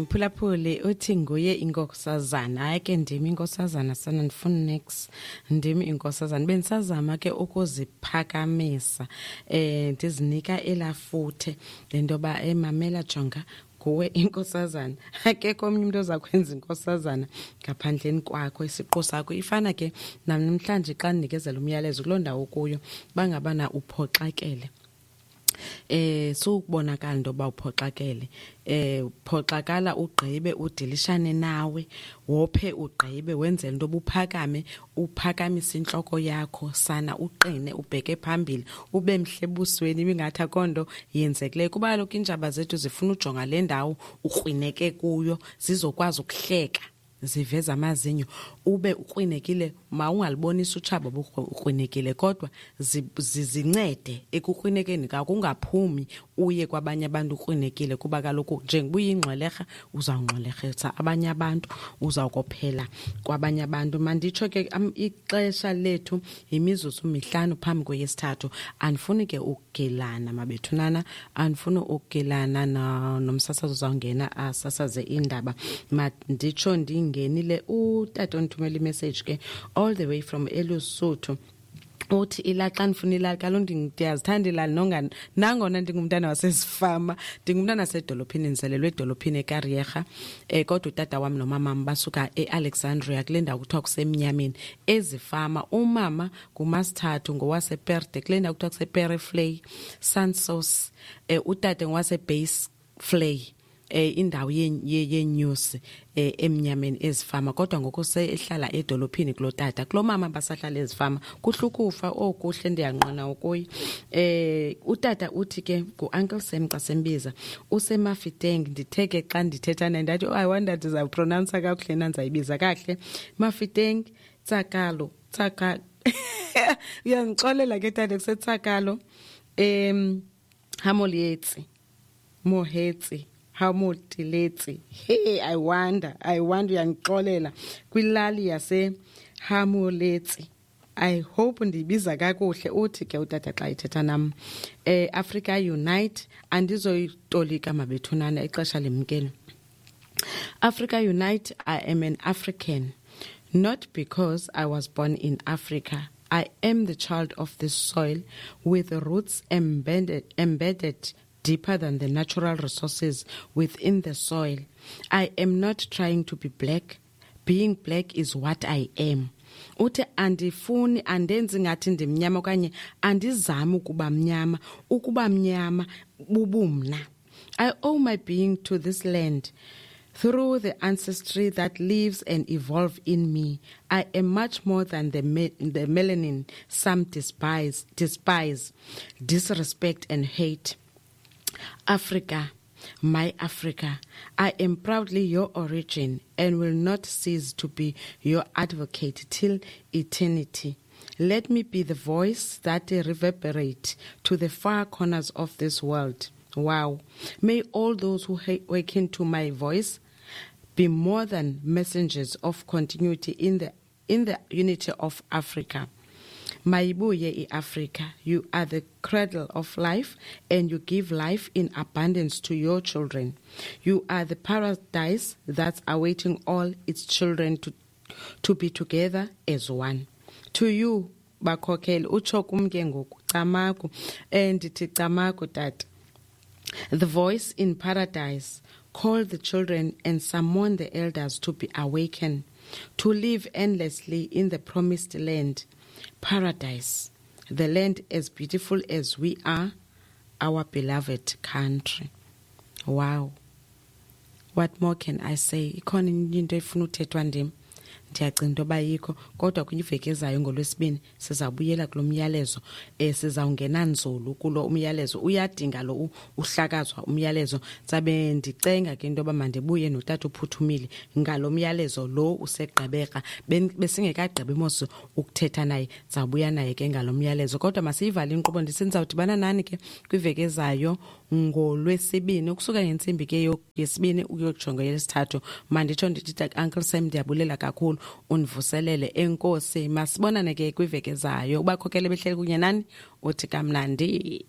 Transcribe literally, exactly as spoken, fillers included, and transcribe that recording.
Mphulaphuli, uthi nguye inkosazana. Hayi ke, ndim inkosazana sana, ndifuna next, ndim inkosazana. Bendisazama ke ukuziphakamisa, eh ndizinika elafuthe lento yoba emamela, jonga, nguwe inkosazana, akekho omnye umuntu oza kwenza inkosazana ngaphandleni kwakho, isiqu sakho. Ifana ke namhlanje xa ndinikezela umyalezo kuloo ndawo kuyo, bangabana uphoxakele, eh sukubonakala into yoba uphoxakele, eh phoxakala ugqibe udilishane nawe, wophe ugqibe, wenzele into obuphakame, uphakamise intloko yakho sana, uqine, ubheke phambili, ube mhle ebusweni, ibingathi akho nto yenzekileyo, kuba kaloku iintshaba zethu zifuna ujonga le ndawo ukrwineke kuyo, zizokwazi ukuhleka ziveza amazinyo. Ube ukrwinekile, mawungalibonisi utshaba ukrwinekile, kodwa zizincede ekukrwinekeni kakho, ungaphumi uye kwabanye abantu ukrwinekile, kuba kaloku njengoba uyingxwelerha uzawungxwelerhisa abanye abantu, uzawukophela kwabanye abantu. Manditsho ke, ixesha lethu yimizuzu mihlanu phambi kweyesithathu. Andifuni ke ukugilana, mabethunana, andifuni ukugilana nomsasazo uzawungena asasaze iindaba. Manditsho ndingenile, utata ondithumela imessage ke all the way from eLusuthu, uthi ilali, xa ndifuna ilali, kaloku ndiyazithanda ilali, nonga nangona ndingumntana wasezifama, ndingumntana wasedolophini, ndizelelwe edolophini eKariega, um kodwa utata wam nomamam basuka eAlexandria, kule ndawo kuthiwa kusemnyameni, ezifama. Umama ngumasithathu, ngowasePerde, kule ndawo kuthiwa kusePereflay Sansos, um utata ngowaseBase Flay, eh indawo yenyusi eh emnyameni ezifama, kodwa ngoku sehlala edolophini kulo tata. Kulo mama basahlala ezifama. Kuhlukufa okuhle, ndiyanqona ukuyi. eh utata uthi ke ngu-Uncle Sam xa sembiza, useMafiteng. Ndithe ke xa ndithetha naye ndathi, "Oh, I wonder ndizawupronounsa kakuhle na, ndizayibiza kakuhle." Mafiteng Tsakalo, Tsaka, uyandixolela ke tata, kuseTsakalo em Hamolietsi, Mohetsi, Hamotiletsi. Hey, I wonder, I wonder, uyangixolela, kwilali yase Hamoletsi. I hope ndiyibiza kakuhle. Uthi ke utata xa ethetha nam, eh Africa Unite. Andizoyitolika mabethunana, ixesha limkele. Africa Unite. I am an African not because I was born in Africa. I am the child of this soil with roots embedded embedded deeper than the natural resources within the soil. I am not trying to be black. Being black is what I am. Uthi andifuni, andenzi ngathi ndimnyama okanye andizami ukuba mnyama, ukuba mnyama bubumna. I owe my being to this land. Through the ancestry that lives and evolves in me, I am much more than the, me- the melanin some despise, despise, disrespect and hate. Africa, my Africa, I am proudly your origin and will not cease to be your advocate till eternity. Let me be the voice that reverberate to the far corners of this world. Wow. May all those who awaken to my voice be more than messengers of continuity in the in the unity of Africa. Mayibuye iAfrica, you are the cradle of life and you give life in abundance to your children. You are the paradise that's awaiting all its children to, to be together as one. To you, bakhokheli, utsho kum ke ngoku, camagu, and ndithi camagu tata. The voice in paradise call the children and summon the elders to be awakened, to live endlessly in the promised land, paradise, the land as beautiful as we are, our beloved country. Wow. What more can I say? Ikhona into efuna uthethwa ndim? Ndiyacinga into yoba yikho, kodwa kwiveki ezayo ngolwesibini sizawubuyela kulo myalezo, um sizawungena nzulu kulo umyalezo. Uyadinga lo uhlakazwa umyalezo. Sabe ndicenga ke into yoba mandibuye notata uphuthumile ngalo myalezo lo useGqeberha. Besingekagqibi mos ukuthetha naye, zawubuya naye ke ngalo myalezo, kodwa masiyivale inkqubo. Ndisendizawudibana nani ke kwiveki ezayo ngolwesibini, ukusuka ngentsimbi ke yesibini ukuyojonga yesithathu. Manditsho ndithi, Uncle Sam, ndiyabulela kakhulu, undivuselele, enkosi. Masibonane ke kwiveki ezayo. Ubakhokele behleli kunye nani, uthi kamnandi.